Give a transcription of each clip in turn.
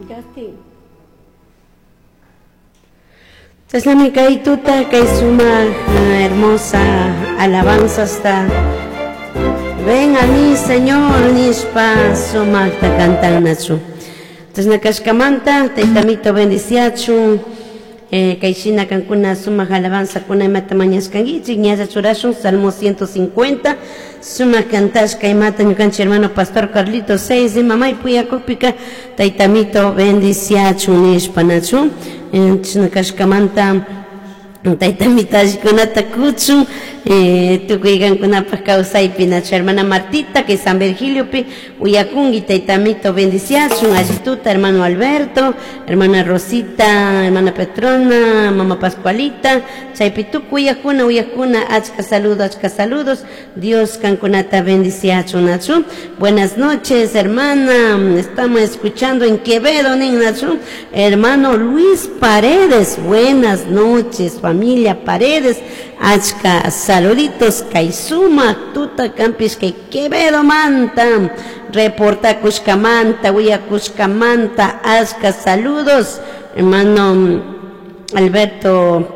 Justin. Chashnami kay tuta kay sumak hermosa alabanzasta Ven a mí, Señor, nishpa sumakta cantannachu. Chashna kashkamanta taytamito bendiciachun kay shina kankuna sumak alabanzakuna imata mañashkankichik ñalla churashun Salmo 150 sumak cantashka imata ñukanchik hermano pastor Carlito 6 ima may puyakukpika taytamito bendiciachun nishpa nachu chashna kashkamanta taytamito allikunata kuchun tukuy kankunapaq kawsaypi nachu hermana Martita kay San Virgiliopi uyakunki taytamito bendiciachun allituta hermano Alberto, hermana Rosita, hermana Petrona, mama Pascualita, chaypi tukuy uyakuna uyakuna achka saludos, achka saludos, Dios kankunata bendiciachun nachu. Buenas noches, hermana, estamos escuchando en Quevedo, nin nachu, hermano Luis Paredes, buenas noches, familia Paredes, achka saluditos, kay sumak tuta kampish kay Quevedo manta, reporta kushkamanta, willakushkamanta, achka saludos, hermano Alberto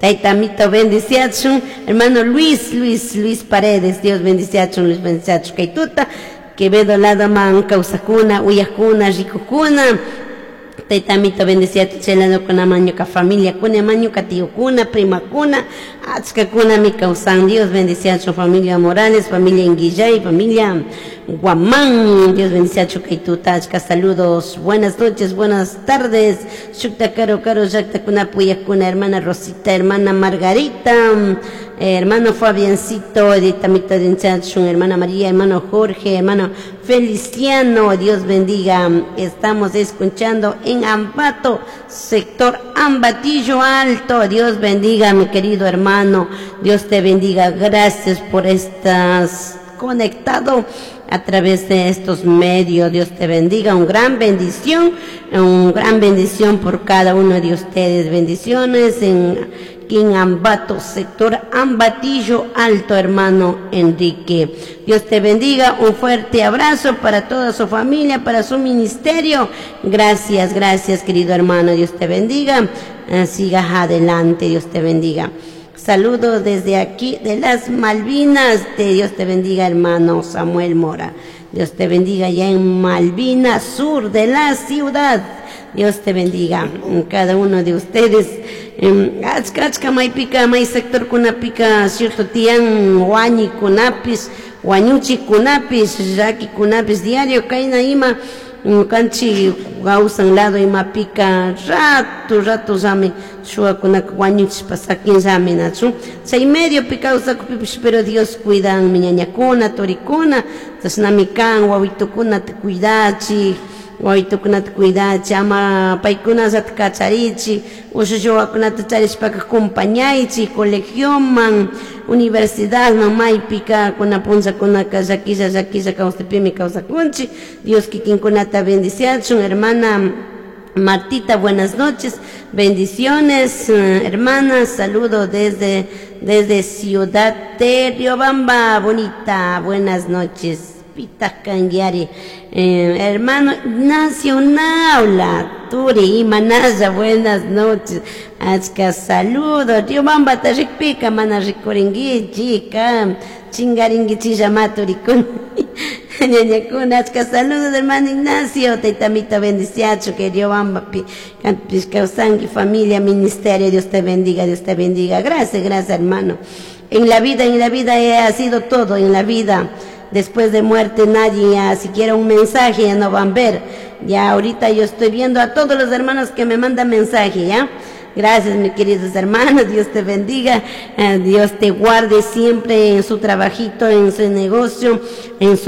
Taytamito bendiciachun, hermano Luis, Luis, Luis Paredes, Dios bendiciachun, Luis bendiciachun, kay tuta, Quevedo lado man, kawsakuna, uyakuna, rikukuna, Taytamito bendiciachun, chay kuna ñuka familia kuna, ñuka tíokuna, primakuna, achkakuna mi kawsan, Dios bendiciachun, familia Morales, familia Inguillay, familia Guamán, Dios bendiciachun, kay tuta, achka saludos, buenas noches, buenas tardes, shukta karo karo, llakta kuna puyakuna, hermana Rosita, hermana Margarita, hermano Fabiancito, Taytamito bendiciachun, hermana María, hermano Jorge, hermano Feliciano, Dios bendiga, estamos escuchando en Ambato, sector Ambatillo Alto, Dios bendiga, mi querido hermano, Dios te bendiga, gracias por estás conectado a través de estos medios, Dios te bendiga, un gran bendición, un gran bendición por cada uno de ustedes, bendiciones en Ambato, sector Ambatillo Alto, hermano Enrique. Dios te bendiga, un fuerte abrazo para toda su familia, para su ministerio. Gracias, gracias, querido hermano, Dios te bendiga. Sigas adelante, Dios te bendiga. Saludos desde aquí de las Malvinas. De Dios te bendiga, hermano Samuel Mora. Dios te bendiga allá en Malvinas, sur de la ciudad. Dios te bendiga, cada uno de ustedes. Achka achka maypika may sector kunapika cierto tiyan wañi kunapis, wañuchi kunapis, llaki kunapis, diario kayna ima kanchi kawsan lado imapika rato rato llami shuwakunaka wañuchishpa sakinllami nachu chay mediopi kawsakupipish, pero Dios cuidanmi ñañakuna, turikuna, chashnami kan wawitukunata cuidachik, wawitukunata cuidachi, ama paykunallata kacharichi, ushushi wawakunata charishpaka acompañaychik colegioman, universidadman, maypika kuna punllakunaka llakilla llakilla kawsaypimi kawsakunchik. Dios kikinkunata bendiciachun, hermana Martita, buenas noches, bendiciones, hermana, saludo desde Ciudad de Riobamba, bonita, buenas noches. Pita Canguiari, hermano Ignacio Naula, Turi y Manaya, buenas noches, achka saludo, Riobamba tarikpika, mana rikuringui, chica, chingaringui chilla maturikun, ñañakuna, achka saludos, hermano Ignacio, taytamito bendiciacho, que Riobamba pi, kawsanki, familia, ministerio, Dios te bendiga, Dios te bendiga, gracias, gracias, hermano. En la vida ha sido todo, en la vida. Después de muerte nadie, ya siquiera un mensaje ya no van a ver. Ya ahorita yo estoy viendo a todos los hermanos que me mandan mensaje, ¿ya? Gracias, mis queridos hermanos, Dios te bendiga, Dios te guarde siempre en su trabajito, en su negocio, en su